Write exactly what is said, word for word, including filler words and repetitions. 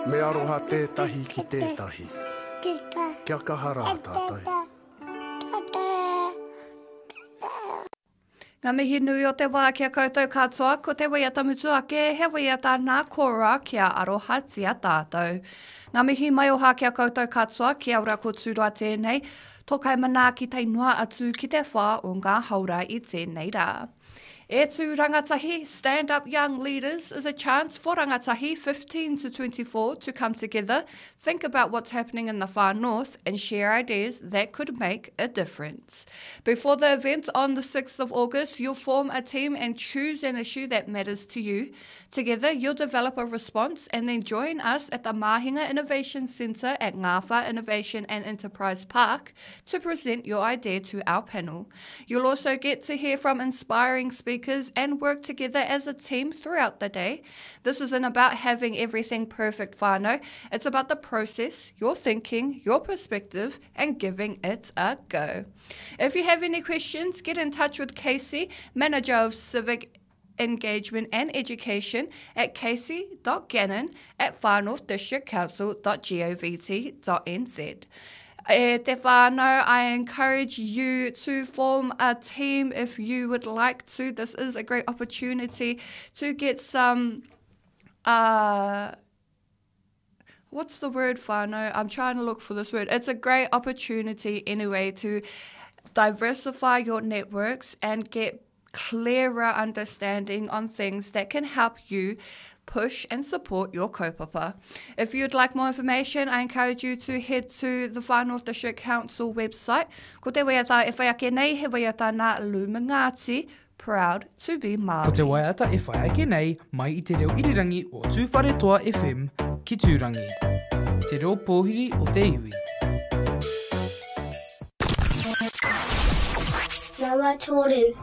Me aroha tētahi ki tētahi. Kia kaha rā tātou. Ngā mihi nui o te wā ki a koutou katoa, ko te waiata mutu ake, he waiata nā Kora kia arohatia tātou. Ngā mihi maioha ki a koutou katoa, kia ora ko Tūroa tēnei, tō kai manaaki tae noa atu ki te whā o ngā haora i tēnei rā. E tū rangatahi, Stand Up Young Leaders is a chance for rangatahi fifteen to twenty-four to come together, think about what's happening in the far north and share ideas that could make a difference. Before the event on the sixth of August, you'll form a team and choose an issue that matters to you. Together, you'll develop a response and then join us at the Mahinga Innovation Centre at Ngawha Innovation and Enterprise Park to present your idea to our panel. You'll also get to hear from inspiring speakers and work together as a team throughout the day. This isn't about having everything perfect, whānau. It's about the process, your thinking, your perspective, and giving it a go. If you have any questions, get in touch with Casey, Manager of Civic Engagement and Education, at casey dot gannon at far north district council dot govt dot n z. E te whānau, I encourage you to form a team if you would like to. This is a great opportunity to get some, uh, what's the word, whānau? I'm trying to look for this word. It's a great opportunity anyway to diversify your networks and get clearer understanding on things that can help you push and support your kaupapa. If you'd like more information, I encourage you to head to the Far North District Council website. Ko te waiata e whai ake nei, he waiata nā Luminati, Proud to be Māori. Ko te waiata e whai ake nei, mai i te reo irirangi o Tūwharetoa F M ki Tūrangi. Te reo pōhiri o te iwi. Nama toru.